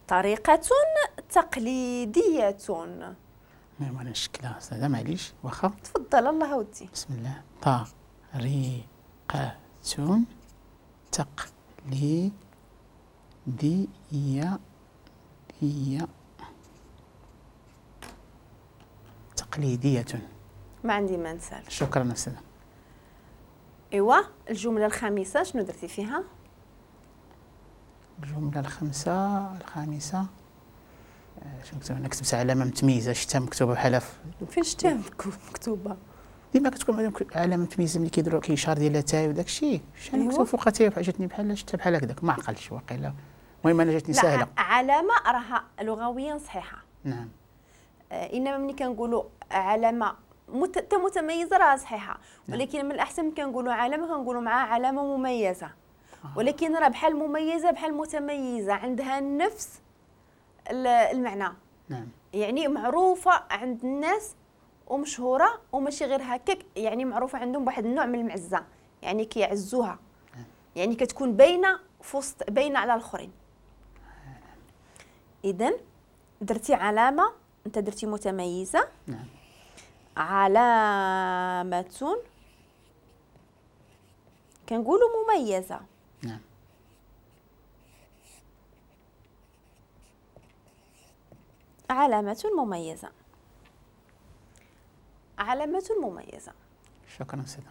طريقة تقليدية. نعم انا نشكلها استاذة معليش واخا. تفضل الله ودي. بسم الله. طريقة تقليدية تقليدية. ما عندي ما نسال. شكرا أستاذة. ايوا الجملة الخامسة شنو درتي فيها؟ الجملة الخامسة شنو كتبت؟ أنا كتبت علامة متميزة، شفتها مكتوبة بحال فين شفتيها مكتوبة؟ ديما كتكون علامة متميزة ملي كيديروا كيشار ديال تاي وداك الشيء، شحال مكتوب فوق تاي جاتني بحال شفتها بحال هكذاك، ما عقلتش واقيلا. المهم أنا جاتني ساهلة. علامة راها لغويا صحيحة. نعم. إنما ملي كنقولوا علامة متميزة راه صحيحة، ولكن من الأحسن كنقولوا علامة كنقولوا معها علامة مميزة. ولكن راه بحال مميزة بحال متميزة، عندها نفس المعنى. نعم. يعني معروفة عند الناس ومشهورة، وماشي غير هكاك، يعني معروفة عندهم بواحد النوع من المعزة، يعني كيعزوها. نعم. يعني كتكون باينة في وسط، باينة على الآخرين. إذن درتي علامة، أنت درتي متميزة. نعم. علامة كنقولوا مميزة. نعم. علامة مميزة. علامة مميزة. شكرا أستاذة.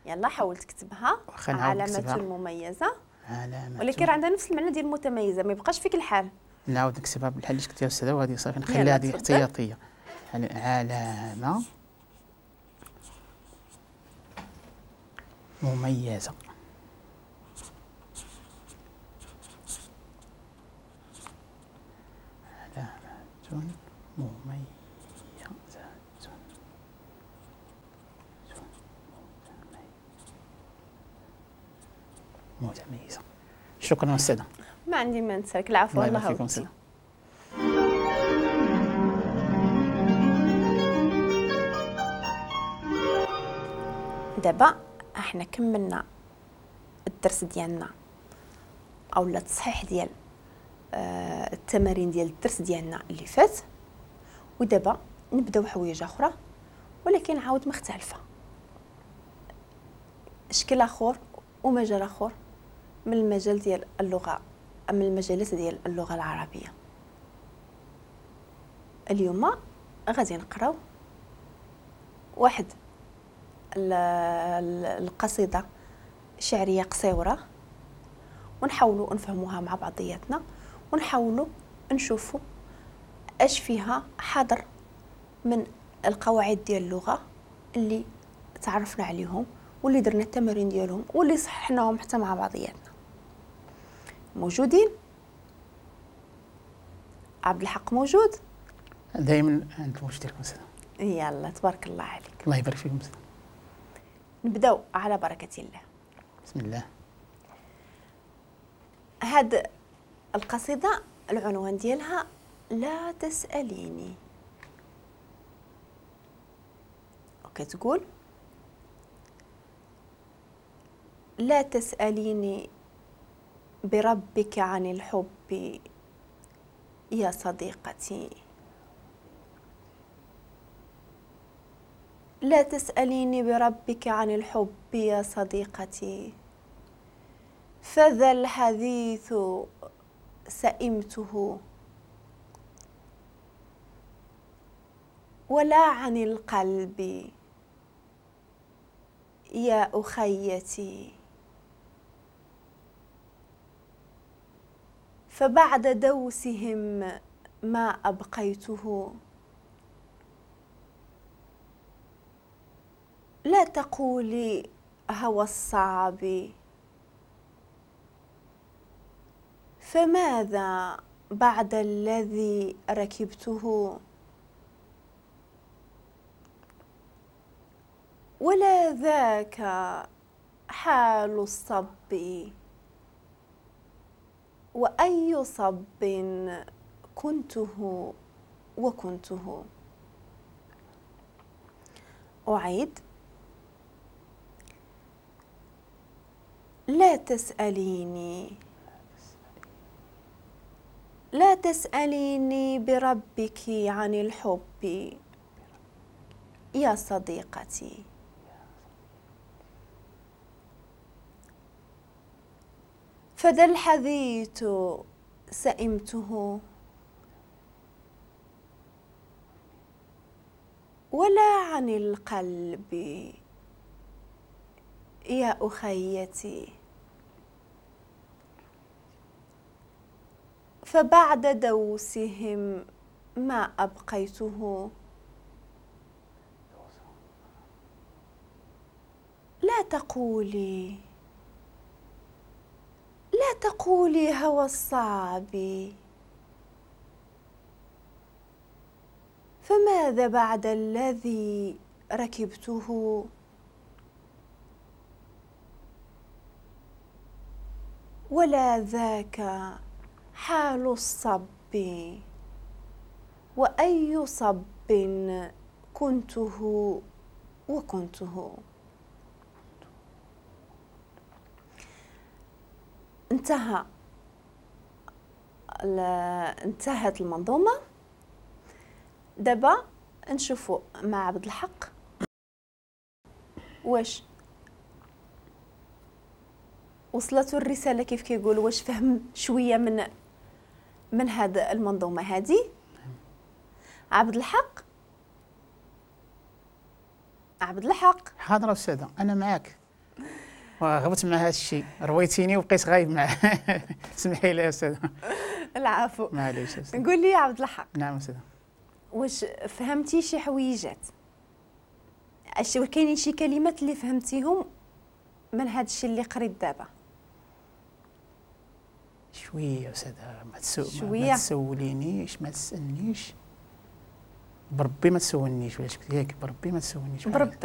يلا حاول تكتبها. علامة مميزة. علامة، ولكن راه عندها نفس المعنى ديال متميزة، ما يبقاش فيك الحال. نعاود نكتبها بالحال اللي كتبتيها أستاذة، وهذه صافي نخليها هذه احتياطية. علامة مميزة. علامة مميزة. متميزة. شكرا أستاذة. ما عندي ما نسالك. العفو. الله يبارك فيكم أستاذة. دابا احنا كملنا الدرس ديالنا او التصحيح ديال التمارين ديال الدرس ديالنا اللي فات، ودابا نبداو حوايج اخرى ولكن عاود مختلفة، شكل اخر ومجال اخر من المجال ديال اللغة، من المجالات ديال اللغة العربية. اليوم غادي نقراو واحد القصيدة شعرية قصيرة ونحاولوا نفهموها مع بعضياتنا، ونحاولوا نشوفوا اش فيها حاضر من القواعد ديال اللغة اللي تعرفنا عليهم واللي درنا التمارين ديالهم واللي صححناهم حتى مع بعضياتنا. موجودين؟ عبد الحق موجود؟ دائما عند الموجود ديالكم أستاذة. يلا تبارك الله عليك. الله يبارك فيكم أستاذة. نبداو على بركة الله. بسم الله. هاد القصيدة العنوان ديالها لا تسأليني، وكتقول: لا تسأليني بربك عن الحب يا صديقتي، لا تسأليني بربك عن الحب يا صديقتي، فذا الحديث سئمته، ولا عن القلب يا أخيتي، فبعد دوسهم ما أبقيته. لا تقولي هوى الصعب، فماذا بعد الذي ركبته؟ ولا ذاك حال الصب، وأي صب كنته وكنته. أعيد: لا تسأليني لا تسأليني بربك عن الحب يا صديقتي، فذا الحديث سئمته ولا عن القلب يا أخيتي، فبعد دوسهم ما أبقيته. لا تقولي، لا تقولي هوى الصعب، فماذا بعد الذي ركبته؟ ولا ذاك حال الصب، وأي صب كنته وكنته. انتهت المنظومة. دابا نشوفوا مع عبد الحق واش وصلته الرسالة كيف كيقول، واش فهم شوية من هذا المنظومة هذه. عبد الحق، عبد الحق. حاضر أستاذة، أنا معاك وغبت مع هذا الشيء، رويتيني وبقيت غايب معاه. سمحي لي يا أستاذة. العفو. معليش أستاذة. قول لي يا عبد الحق. نعم أستاذة. واش فهمتي شي حويجات؟ اش كاينين شي كلمات اللي فهمتيهم من هذا الشيء اللي قريت دابا؟ شوية أستاذة، ما تسولينيش، ما تسالنيش بربي، ما تسولنيش ولا شكل ياك، بربي ما تسولنيش. بربك.